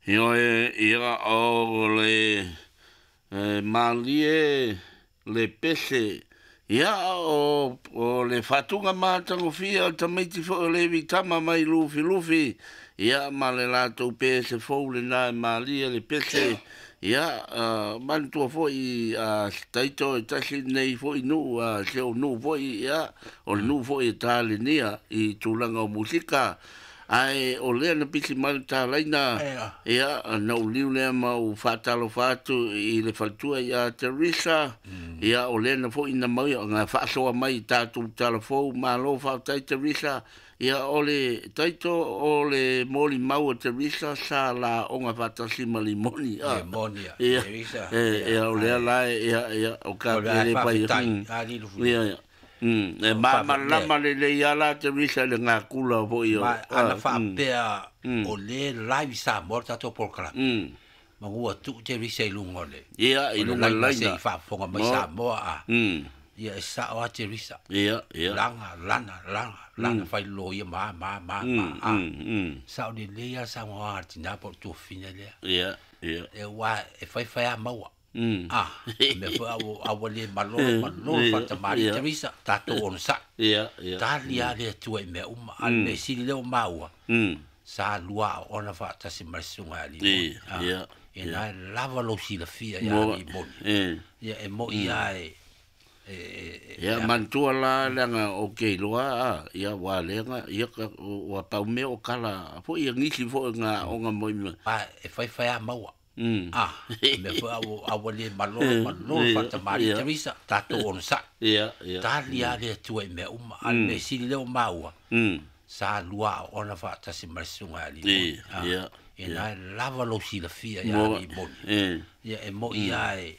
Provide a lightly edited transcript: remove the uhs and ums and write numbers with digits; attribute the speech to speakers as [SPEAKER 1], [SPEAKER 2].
[SPEAKER 1] Ioe, ia o le malie le pese, ia o le faatuga matagofie o le tamaiti foi o Levi Tama mai Lufilufi, ia ma le latou pese fou lena e malie le pese, ia manatua foi a Taito e tasi lenei foi nuu, a si ou nuu foi, ia o le nuu foi e talenia i tulaga o musika. Ae o lea na pisi mai le talaina, ia na ou liu lea ma ou faatalofa atu i le faletua ia Teresa, ia o lea na foi na mau na faasoa mai i tatou talafou, malo faafetai Teresa. Ia o le Taito o le molimau a Teresa sa laoga faatasi ma Limoni.
[SPEAKER 2] Limoni, Teresa.
[SPEAKER 1] Ia o lea la ia ia o ka le pai. Ia e malamalama lelei ala Teresa le ngakula foi o.
[SPEAKER 2] Ma ana faapea o le live Samoa tatou polokalame. Ma ua tuu Teresa i luga o le.
[SPEAKER 1] Ia i luga o le
[SPEAKER 2] se faafofoga mai Samoa a. Ia e sao a Teresa.
[SPEAKER 1] Ia ia.
[SPEAKER 2] Langa lana langa lana fai lo ia ma ma ma ma. Sao lelei a Samoa a tina po tu fina lea.
[SPEAKER 1] Ia ia.
[SPEAKER 2] E wa e fai fai a maua. Me foi au le malo malo fatamari Teresa tatou ono sa.
[SPEAKER 1] Ia ia.
[SPEAKER 2] Tali a le atua i mea uma a le sili leo maua. Sa lua ona faatasi ma le susuga ia Limoni.
[SPEAKER 1] Ia.
[SPEAKER 2] E na lava lou silafia ia Limoni. Ia e moi a e
[SPEAKER 1] ia manatua la leaga o ke iloa ia ua leaga ia ua pau mea o kala foi ia nisi foi nga aoga moi mea.
[SPEAKER 2] E fai fai a maua. Me foi au le malo malo fatamari Teresa tatou ono sa.
[SPEAKER 1] Ia ia.
[SPEAKER 2] Tali a le atua i mea uma a le sili leo maua. Sa lua ona faatasi ma le susuga ia Limoni.
[SPEAKER 1] Ia.
[SPEAKER 2] E na lava lou silafia ia Limoni. Ia e moi a e